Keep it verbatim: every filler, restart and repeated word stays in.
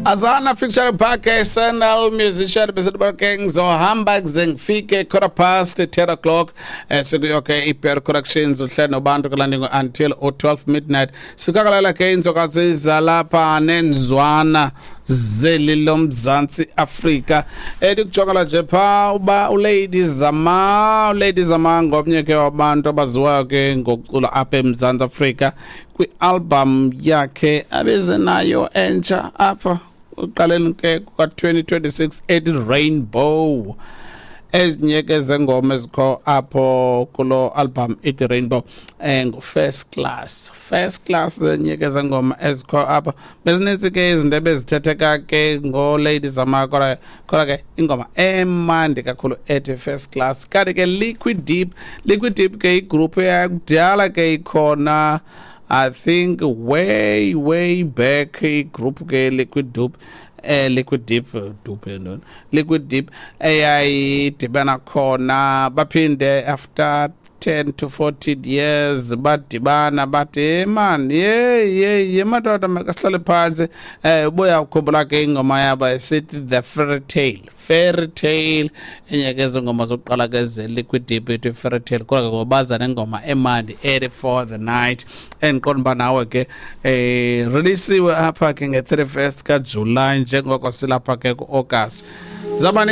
Azana featuring Park Sandal musician bese ke ngizohamba kuze ngifike quarter past ten o'clock eh sekuyo ke iPR Corrections uhlelo nobantu kulandingo until twelve midnight. Sikakalala ke inzokazi zalapha nenzwana zeli loMzantsi Afrika. Edikujongela nje pha uba uLady Zama, uLady Zama ngomnye ke wabantu abaziwayo ke ngokucula apha eMzantsi Afrika kwi-album yakhe abeze nayo entsha apha uqaleni ke kuka twenty twenty-six ethi Rainbow. Ezinye ke zengoma ezikho apho kulo album ethi Rainbow eh ngu First Class. First Class enye ke zengoma ezikho apha. Bezinintsi ke izinto ebezithetheka ke ngo Lady Zama, kodwa kodwa ke ingoma emandi kakhulu ethi First Class. Kanti ke Liquid Deep, Liquid Deep ke igroup yakudala ke ikhona, I think way way back, igroup ke Liquid Deep, eh Liquid Deep Deep ntoni, Liquid Deep eyayidibana khona, baphinde after ten to fourteen years badibana, bathi man, ye ye ye madoda, makasihlale phansi. eh ubuya ukukhumbula ke ingoma yabo esithi The Fairy Tale, Fairy Tale enye ke zengoma zokuqala ke ze Liquid Deep ethi Fairy Tale. Kodwa ke ngobaza nengoma emandi ethi For the Night, endiqonda uba nawe ke eh releasiwe apha ke nge-thirty-first kaJuly, njengoko silapha ke ku-August. Zaba